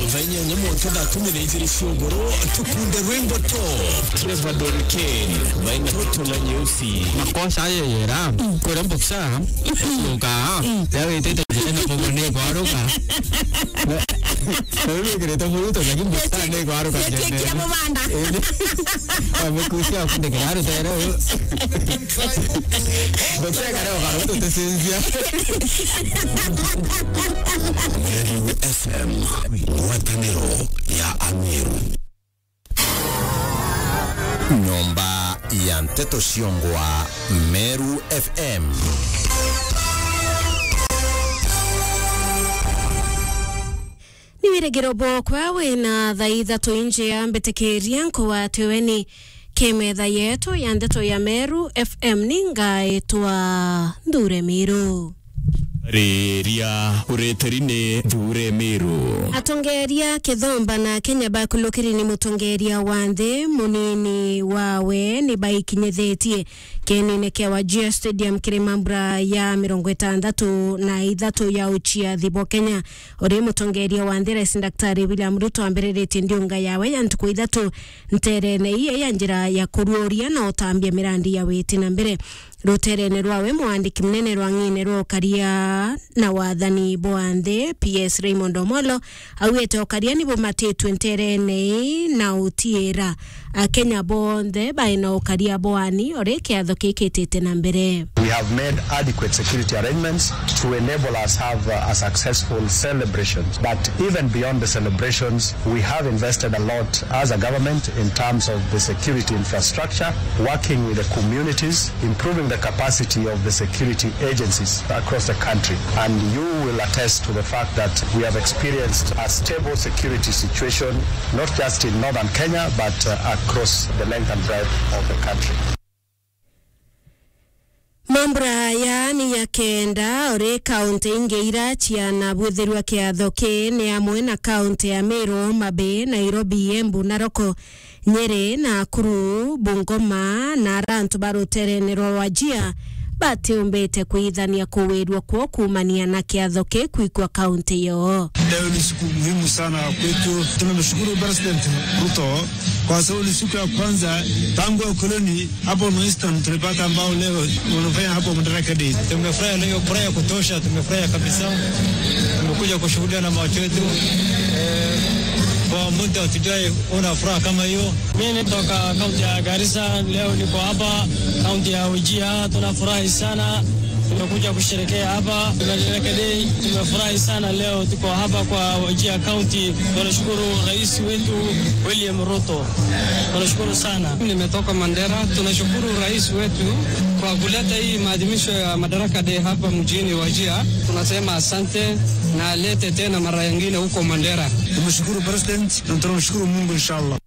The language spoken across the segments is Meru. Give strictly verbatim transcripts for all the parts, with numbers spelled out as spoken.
Thaa inyanya mwanka thaa kumi na ijiri cia ugoro, tukunde rwimbo to Trevor Don Kane, baina Toto na Nyeusi. Makosa ayo yera, kore mboksa, uka, ya witete jene na mugone kwaruka. Na, na wewe kireta muruto, lakini mboksa ne kwaruka jene. Kira mubanda. Amekusia kunde kiraro tero. Mboksa kare kwaruka tutesinzia. Meru F M, ngwataniro ya Ameru. Nyomba ya nteto ciongwa Meru F M. Ni wirigiro bwokwa wina thaa ithatu injia mbitikiria nkugwate weni ki metha yetu ya nteto ya Meru F M. Ni ngaitwa Nthure Miru. Riria uritiri ni Nthure Miru. Atongeria Kithomba na Kenya bakulukiri ni mutongeria wa nthi munini wawe ni baikinyithitie kienine kia Wajir Stadium kiri mambura ya mirongo itandatu na ithatu ya uciathi bwa Kenya. Uri mutongeria wa nthi Rais Daktari William Ruto ambiriritie ndiunga yawe ya ntuku ithatu nterene iye ya njira ya kuruuria na utambia mirandi ya witi na mbere. Ruterene rwawe, mwandiki munene rwa ng'ine rwa ukaria na wathani bwa nthi, P S Raymond Omolo, augite ukaria ni bumatitwe nterene ii na utiira Akenya bonthe baina ukaria bwani uri kiatho kikitite na mbere. We have made adequate security arrangements to enable us have, uh, a successful celebration. But even beyond the celebrations, we have invested a lot as a government in terms of the security infrastructure, working with the communities, improving the capacity of the security agencies across the country. And you will attest to the fact that we have experienced a stable security situation, not just in northern Kenya, but, uh, across the length and breadth of the country. Mambura aya ni ya kenda uri kaunti ingi ira ciana bwithirwa kiatho ki ni amwe na kaunti ya Meru, Homa Bay, Nairobi, Embu, Narok, Nyeri, Nakuru, Bungoma, na ara antu ba ruterene rwa Wajir batiumbite kwithania kuwirua kwoo kuumania na kiatho ki kwikwa kaunti yoo. Leo ni siku muhimu sana kwetu. Tunamshukuru President Ruto kwa sababu ni siku ya kwanza tangu ukoloni hapo North Eastern tulipata ambao leo wanafanya hapo Madaraka Day. Tumefurahi na hiyo furaha ya kutosha, tumefurahi kabisa. Tumekuja kushuhudia na macho yetu. Eh, kwa muda hatujawahi ona furaha kama hiyo. Mimi natoka kaunti ya Garissa, leo niko hapa kaunti ya Wajir. Tunafurahi sana, tumekuja kusherekea hapa Madaraka Day. Tumefurahi sana leo, tuko hapa kwa Wajir County. Tunashukuru rais wetu William Ruto, tunashukuru sana. Nimetoka Mandera. Tunashukuru rais wetu kwa kuleta hii maadhimisho ya Madaraka Day hapa mjini Wajir. Tunasema asante na alete tena mara nyingine huko Mandera. Tumeshukuru President na tunamshukuru Mungu, inshallah.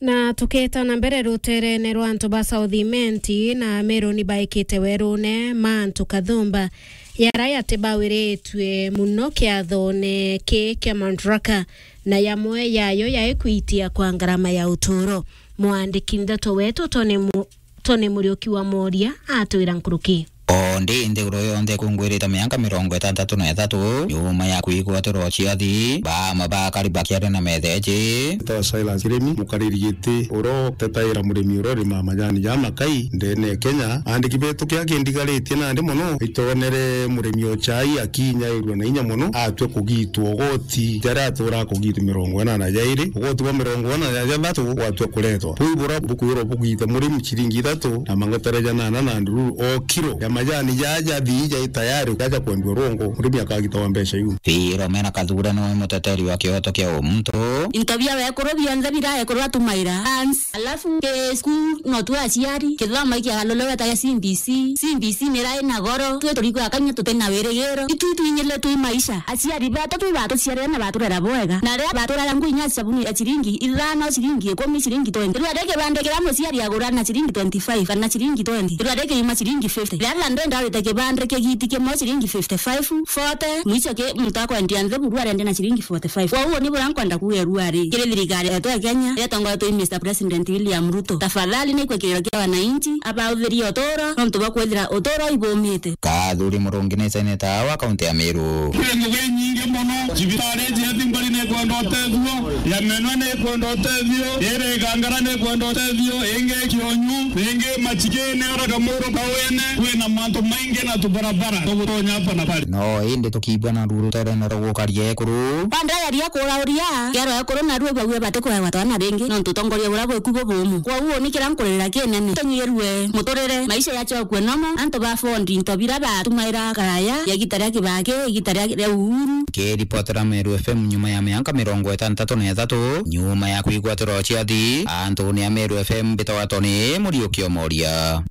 Na tuketa na mbere, ruterene rwa antu ba South Imenti na Meru ni baikite werune mantu kathumba yara yatibawiritue muno kiathone ki kia Madaraka, na yamwe yayo yaikwitia kwa ngarama ya uturo. Mwandiki ndeto wetu Tony Mu-, Tony Muriuki wa Moria atwira nkuruki. O ndi nthiguru yonthe ikungwirite miaka mirongo itantatu na ithatu nyuma ya kwigwatirwa ciathi, baamwe bakari bakiaria na metheji. Ntawa Silas Kirimi, mukariri giti uria utetaira murimi uria urimaa majani ja makai ndene ya Kenya. Aandiki betu kia kindigaritie nandi mono, itonere murimi o chai akinyairua na inya mono, atwe kugitwa ugoti jaria atura kugitwa mirongo inana jairi, ugoti bwa mirongo inana ja jathatu gwatwa kuretwa. Buu bura bukwirwa bugite murimi ciringi ithatu na mangotere janana na ndururu o kiro ya majani jaja thii jai tayari jaja kwendua rwongo, murimi akagitagwa mbeca iu. Philomena Kathure niwe muteteri wa kioto kia umuntu. Into bia wekuru bionthe bira ekuru atumaira. Ans-, alafu ke school no tu aciari, kithomo iki alolo weta ya C B C. C B C nira ina goro, twi turikwa kanya tutina wirigiro. Itu twinyile twi maisha. Aciari betu twi batuciarire na baturera bwega. Na ria baturera ngui nya sabuni ya ciringi ithano, ciringi ikumi, ciringi twenty. Rua ri kibande kiria muciari agura na ciringi twenty-five kana ciringi twenty. Rua ri kiuma ciringi fifty. Ria thande ndawite kibande kigiti kimwe ciringi fifty-five, forty, mwicho ki muntu akwendia nthibu rua rende na ciringi forty-five. Kwa uguo ni bura nkwenda kuuga rua ri. Kiri thirikari yetu ya Kenya, iria tongoretwe i Mister President William Ruto. Tafadhali ni kwikiriro kia wananchi, abauthirie uturo, nontu bwa kwithira uturo ibumite. Kathuri Murungi ni seneta wa kaunti ya Meru. Kwi ngugi inyingi mono, cibitari iji ati mbari ni Ikwenda utethio, ya Menwe ni ikwenda utethio, iri Igangara ni ikwenda utethio, ingi Kionyu, ingi Machigini, ora Kamuru Kawene, kwina mantu maingi na tubarabara tugutonya hapa na pale. No indi tukiigua na ruru ruterene rwa gukaria ekuru. Bandageria kurauria kero ekuru, na rue baue bati kuewa twana ringi, nontu utongoria buria bweku bubumu. Kwou uni kiria nkuririra kinene, tunyirue muturire, maisha yachokue nomo, antu ba fondi into biria batumaira karaya, ya igita ria Kibaki, igita ria, ria Uhuru. Kiripotera Meru F M nyuma ya mianka mirongo itantatu na ithatu, nyuma ya kwigwatirwa ciathi antune a Meru F M, mbitagwa Tony Muriuki Omoria.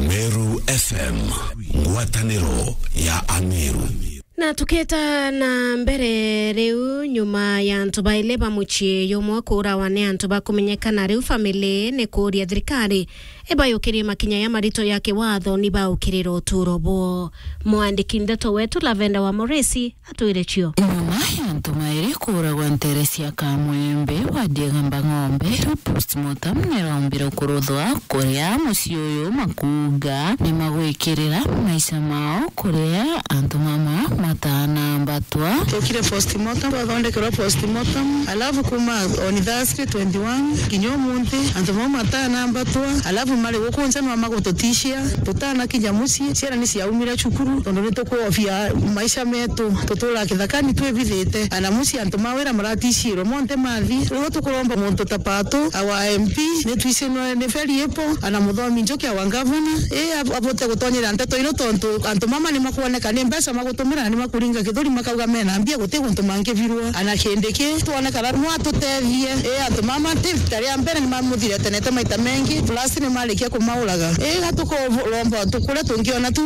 Meru F M, ngwataniro ya Ameru. Na tuketa na mbere riu, nyuma ya antu baili ba mucii jumwe kuurawa ni antu bakumenyekana, riu family ni kuuria thirikari ibayukirie makinya ya marito ya kiwatho ni baukirira uturo bwoo. Mwandiki ndeto wetu Lavenda wa Moresi atwire cio. Nyuma ya antu mairi kuuragwa ntere cia Kamwembe, wadi ya Igamba Ng'ombe, riu postmortem niraumbire kuruthwa kuria mucii uyu makuuga ni magwikirira maisha mao kuria antu mama matanaambatwa. Twokire postmortem, twathondekerwa postmortem, alafu kuma on Thursday twenty-one kinya umunthi, antu mau matanaambatwa, alafu mari guku nja nwa magututishia, tutanakinya mucii, ciana ni ciaumire cukuru, tondu ni tukwofia maisha metu, tutura kithakani twibithite, ana mucii antu ma wira maratishirwe, monthe mathi. Riu tukuromba muntu ta Pato, our M P, ni twicinwe ni Feri Ipo, ana Muthomi Njuki, our governor, i ab-, abote gutonyera nteto ino, tontu antu mama ni makwoneka ni mbeca magutumira, na ni makuringa kithuri, makauga mena mbia, guti guntu mangibirwa. Ana Kindiki, twonekana no atutethie. I antu mama ti rita ria mbere ni mamuthiretenete maita mengi, plus ni marikia kumauraga. I ga tukuromba tu kuria tungiona tu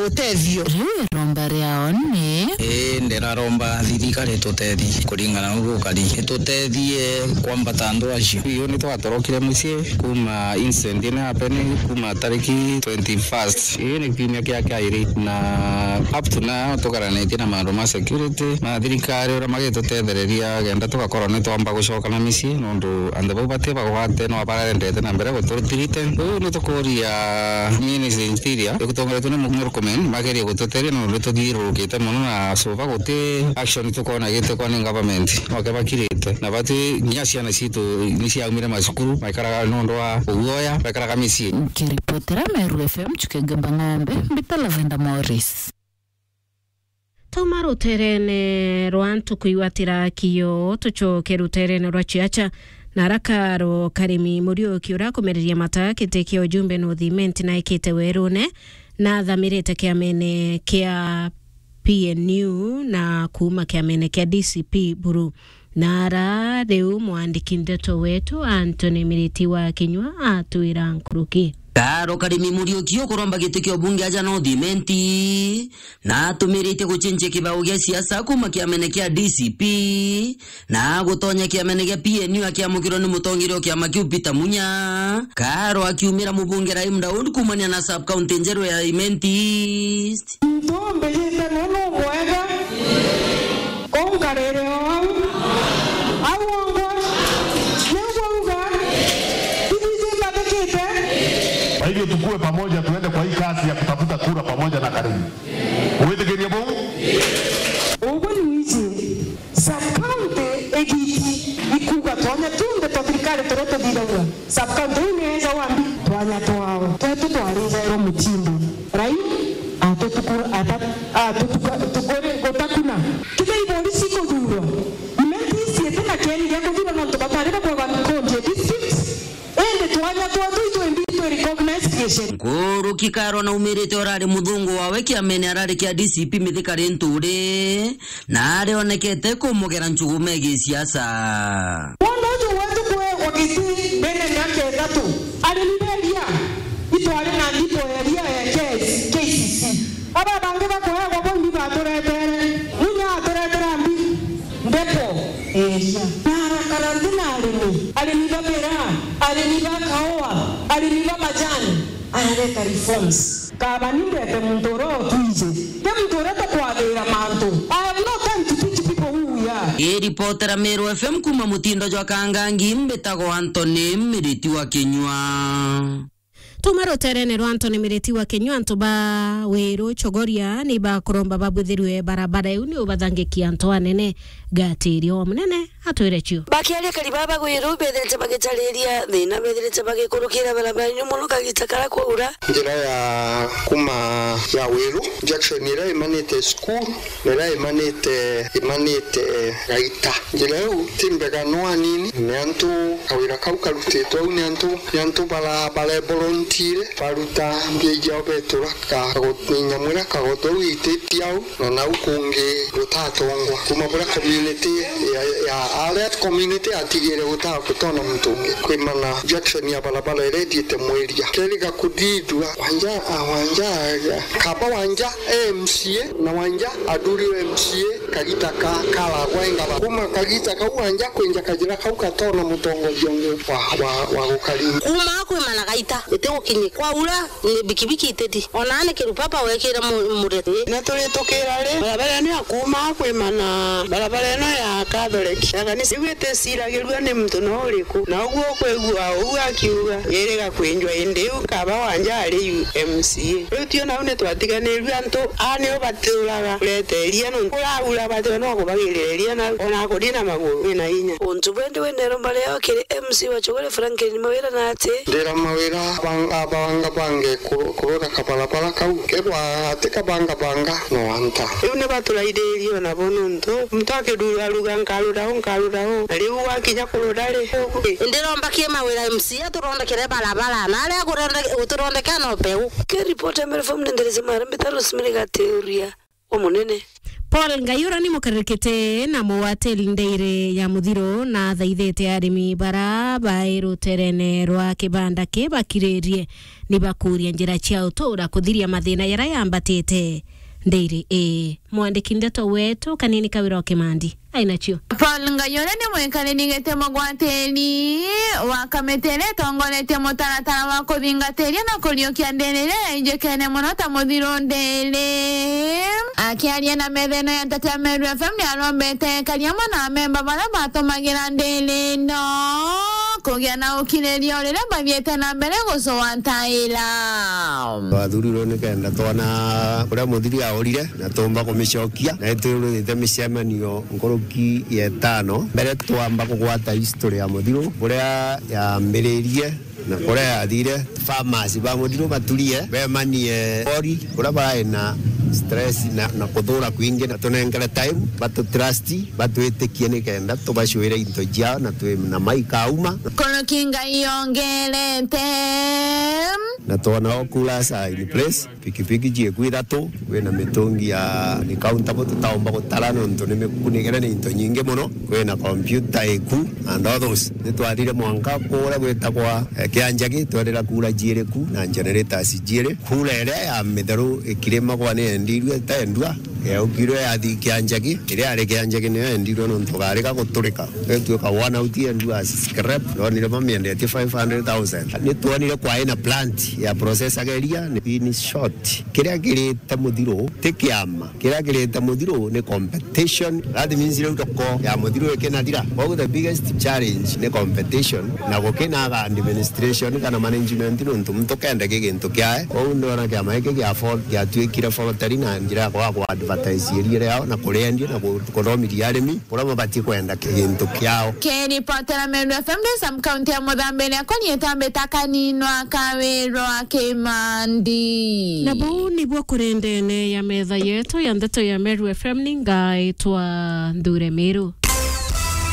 utethio. Riu iromba riao ni. Ii, ndiraromba thirikari itutethie kuringana na uria gukari, itutethie kwambata antu acio. Riu ni twatorokire mucii kuma incident ino happen kuma tariki twenty-first. Ii ni kiumia kia kairi, na up to now tugaranitie na maundu ma security ma thirikari uria magitutethereria kenda tugakorwo ni twamba gucoka na micii, nondu antu bau bati bagwate no bararendete na mbere guturithirite. Riu ni tukuria Ministry Interior igutongoretwe ni Murkomen magerie gututeria, nondu ni tuthiururukite mono na so far guti action tukwona gitekwa ni government. Noke bakirite na bati nginya ciana citu ni ciaumire macukuru, maikaraga nondu wa uguoya, maikaraga micii. Nkiripotera Meru F M, Chuke Ngamba Ng'ombe, mbita Lavenda Morris. Tauma ruterene rwa ntuku igwatira kio, tucoke ruterene rwa ciaca. Na araka ro Karimi Muriuki uria akumereria mata kiti kia ujumbe North Imenti na ikite werune, na athamirite kiamene kia P N U na kuuma kiamene kia D C P buru. Na ara riu mwandiki ndeto wetu Anthony Miriti wa Kinyua atwira nkuruki. Karo Karimi Muriuki ukuromba giti kia ubunge aja North Imenti, na atumirite gucenjia kibao gia siasa kuuma kiamene kia D C P na gutonya kiamene gia P N U akiamukirwa ni mutongeria o kiama kiu Peter Munya. Karo akiumira mubunge Rahim Daud kuumania na sub county njeru ya Imenti East. Muntu umbijite nuu nu mwega, uu nkarire o au. Au ongwa, niu bwauga, ithiji mbathikite. Kwa hivyo tukue pamoja, tuende kwa hii kazi ya kutafuta kura pamoja na Karimi. Gwitikiria buu? Uguo ni wiji. Sub county igiti ikuuga twanya tunthe twa thirikari turia tuthithagua. Sub county iu ni eja wambi twanya twao. Twetu twarijairwo mutindo. Rai atutuku-, ata-, atutuka-, tukuri-, gutakuna. Kithei borisi ikuthurwa. Imenti ici iti na kieni gia kuthurwa nontu batari bakwagwa county district. Indi twanya twetu itwimbi twi recognized giceri. Nkuruki Karo naumirite urari muthungu wawe kiamene arari kia D C P Mithika Linturi, na arionekete kumugera njugu megii siasa. Wona uju wetu kuegwa giti mbere ya miaka ithatu, arimi beria itwari na ndipo eria ya K C C. Aba bangi bakuegwa bo imbi baturetere, Munya aturetera mbi, ndepo, eria. Na arakara nthi na arimi, arimi ba miraa, arimi ba kaua, arimi ba majani, arareta reforms. Kaba ni ndete muntu uria utwiji, ti muntu uria tukwathira mantu. I have no time to teach people who we are. Iripotera Meru F M kuuma mutindo jwa Kangangi, mbitagwa Anthony Miriti wa Kinyua. Tuma ruterene rwa Anthony Miriti wa Kenya, antu ba Wiru Chogoria ni bakuromba babwithirwe barabara iu ni ubathangikia antu anene. Gatiri o munene atwire cio. Bakiaria kari baba Wiru bethirite bagitariria thina bethirite bagikurukira barabara iu mono kagita kara kwaura. Njira ya kuma ya Wiru, junction iria imanite cukuru, na iria imanite, imanite Gaita. Njira iu ti mbega no anini, ni antu kawira kau karutitwe au ni antu, ni antu bara, bareborontire, baruta mbia iao betura ka, kago-, ni nyamu iria kagoto au ititie au, na nau kungi gutatongwa. Kuma buria community ya, ya, aria community yatigire guta-, gutona muntu ungi. Kwimana junction ya barabara iria ithiite Mwiria. Keriga kuthithua, Wanja, ah, Wanja, kaba Wanja M C A, na Wanja athuriwe M C A, kagita ka, karagwa engaba. Kuma kagita kau Wanja kwinja kajira kau gatona mutongoria ungi wa, wa, wa gukaringa. Kuma kwimana Gaita, iti gukinyi. Kwaura, ni bikibiki iteti. Ona ni kirupapa wekire mu-, mureti. Na turi tukira ri, barabara ino ya kuma kwimana, barabara ino ya Catholic, ya kanisa, iu iticiragirua ni muntu no uriku. Na uguo ukwigua uu akiuga, iriga kwinjwa indi iu kaba Wanja ari M C A. Riu tio nau ni twatiganirue antu, aa nio baturaga kureteria nontu kuraura batio no kubagiriria nau, ona kuri na maguru wina inya. Untu bwendi wendero mbaria kiri M C wa Chogore Franklin Mawira na ati. Ndira Mawira abanga, abanga bange kuru-, kurura kabarabara kau. Kethwa ati kabanga banga, no anta. Riu ni baturaithirie ona bo nontu muntu akirura aruga, "Nkarura u, nkarura u." Na riu wakinya kurura ri? Ndiromba ki Mawira M C A atuthondekere barabara, na aria akurende-, gututhondekera no peu. Ke ripoti ya Meru F M ni nderese mara mbita Rosemary Gateria wa Munene. Paul Ngaiura ni mukarikite na muwateli ndeire ya muthiro na athaithite arimi bara bai ruterene rwa kibanda ki bakiririe ni bakuria njira cia utura kuthiria mathina jaria yambatite. Ndeire ii. Mwandiki ndeto wetu Kanini Kawira o Kimandi ainacio. Paul Ngaiura ni mwikariri giti mugwatiri wa kamiti iria itongoretie mutaratara wa kuthingatiria na kuriukia ndiri iria yainjikene mono ta muthiru ndiri. Akiaria na metha ino ya nteto ya Meru F M, ni arombete ekari amwe na amemba baria batumagira ndiri ino kugia na ukiriria o riria bathiite na mbere gucwataira. Twathurirwe nikenda twona uria muthiri aorire na tuumba kumicokia, na itwirite micemanio nkuruki ya itano mbere twamba kugwata history ya muthiru, buria yambiririe na kuria yathire. Farmers ba muthiru baturie bemanie ori kuria barai na stress na, na kuthura kwingi, na tunengere time batutrust, batwitikie nikenda tubacwire into ciao na twi na maikauma. Nkuruki Ngai yongerete. Na twona o coolers are in place, pikipiki cieku ithatu, kwina mitungi ya ni countable tutaumba gutara nontu ni mikunikire ni into nyingi mono, kwina computer iku and others. Nitwathire mwanka kuria gwitagwa, eh, Kianjagi, twerira kura ciiri ku na generators ciiri. Kura iria ya mitheru ikirimagwa ni yendirue itaendua, yaukirwe yathi Kianjagi, iria yari Kianjagi niyo yendirwe nontu gari ga guturika. Ituika one out yendu as scrap, ndonire bamiendetie five hundred thousand. Nitwonire kwai na plant ya processaga iria, ni in short, kiria kirite muthiru ti kiama, kiria kirite muthiru ni competition. That means riu thoko ya muthiru ikinathira. Koguo the biggest challenge ni competition, na gukinaga administration kana management nontu muntu kende ki gintu kiae. Koguo ndona kiama giki gia Fort giatuikire Fortari na njira ya kwaga ku advertise iria riao na kuriendia na ku-, kuthomithia arimi. Kuria babatie kwenda gintu kiao. Kiripotera Meru F M ndi Sam County ya Muthambiria, koni itambita Kaninwa Kawirwa Kimandi. Na buu nibuo kuri ndene ya metha yetu ya ndeto ya Meru F M, ni ngaitwa Nthure Miru.